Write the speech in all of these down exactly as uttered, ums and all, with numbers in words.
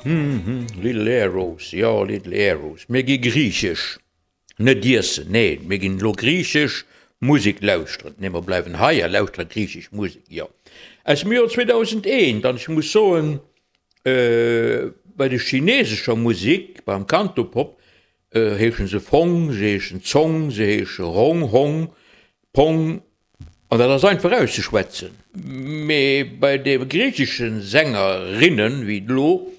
Little Arrows, jo, Little Arrows. Mir gi griichesch net iessen, nee, mir ginn elo griichesch Musek lauschteren. Nee, mer bleiwen hei a lauschtere griichesch Musek, jo. Aus dem Joer zweedausendeent, an ech muss soen, bei der chinesescher Musek, beim Cantopop, heeschen se Fong, se heeschen Zong, se heesche Rong, Hong, Pong, an dat ass einfach auszeschwätzen. Mee bei de griichesche Sängerinnen, wéi elo,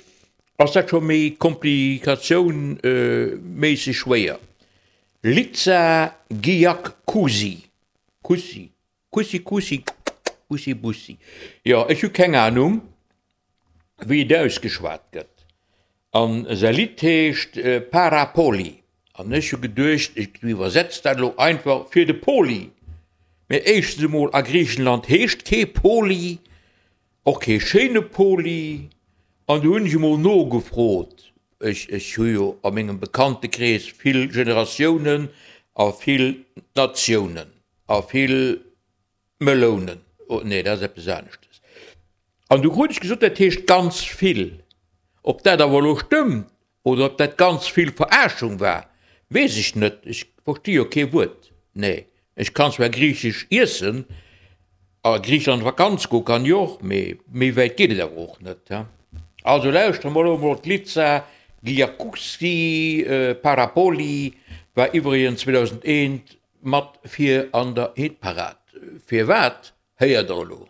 ass dat scho méi komplikatiounméisseg schwéier. Litsa Giakousi, Kussi, Kussi, Kussi, Bussi, Bussi, jo, ech hu keng Anung, wéi et ausgeschwat gëtt. An säi Lidd heescht Para Poli. An ech hu geduecht, ech iwwersetz dat elo einfach fir de Poli. Mee éischtens emol, a Griichenland heescht kee Poli, och kee schéine Poli. An du hunn ech emol nogefrot, ech, ech hu jo a mengem Bekanntekrees vill Generatiounen a vill Natiounen a vill Melounen, oh nee, dat ass eppes aneschtes. An du krut ech gesot, dat heescht ganz vill. Ob dat awer elo stëmmt oder ob dat ganz vill Verarschung war, weess ech net. Ech versti jo kee Wuert. Nee, ech kann zwar griichesch iessen, a Griicheland Vakanz goe kann ech och, mee méi wäit geet et awer och net. Also lauschtere mer elo emol d'Litsa Giakoussi, Parapoli war iwwregens zweedausendeent mat vir an der Hitparad. Firwat, héiert der elo.